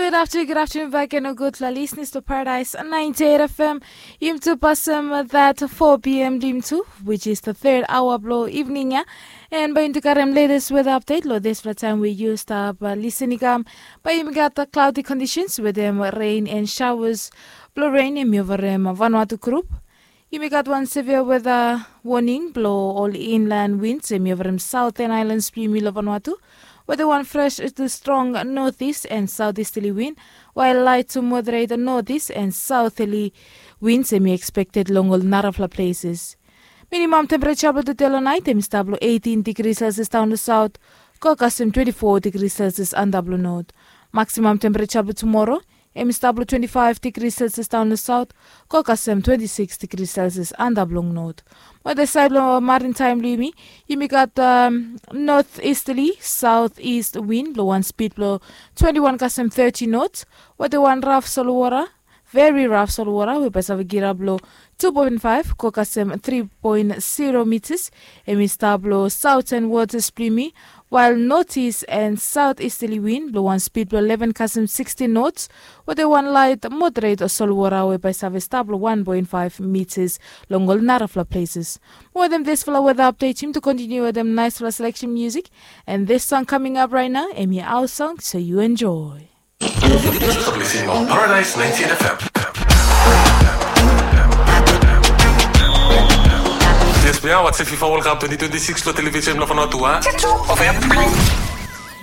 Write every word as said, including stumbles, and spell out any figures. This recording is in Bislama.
Good afternoon, good afternoon back and a good la listeners to Paradise ninety-eight F M. Yum tu pasem that four p.m. lim tu, which is the third hour blo evening ya. And by into karem latest weather update lo this fla time we used up uh, listening um, by yumi got the cloudy conditions with them rain and showers. Blo rain em yovarem Vanuatu group. Yumi gat wan severe weather warning blo ol inland winds em yovarem southern islands blo yumi lo Vanuatu. Weather wan fresh to strong northeast and southeasterly wind, while light to moderate northeast and southerly winds em expected long ol narafla places. Minimum temperature blo today lo night em stap lo eighteen degrees Celsius down to south, go kasem twenty-four degrees Celsius under blo north. Maximum temperature blo tomorrow em i stap lo twenty-five degrees Celsius down lo south, go kasem twenty-six degrees Celsius under blong north. Mo the side lo maritime blo yumi, yumi gat um, northeasterly southeast wind blo wan speed blo twenty-one kasem thirty knots. Weather wan rough solwara, very rough solwara we by save girap lo two point five go kasem three point zero meters. Em i stap lo southern waters blo yumi, while northeast and southeasterly wind blo wan speed blo eleven kasem sixty knots. Weather wan light moderate solwara we by save stap lo one point five meters long ol narafla places. Mo wetem disfala weather update yum to continue wetem nicefala selection music. And this song coming up right now em i our song, so you enjoy. Paradise ninety-eight F M. Yes, we are watching FIFA World Cup twenty twenty-six lo television lo Vanuatu, huh?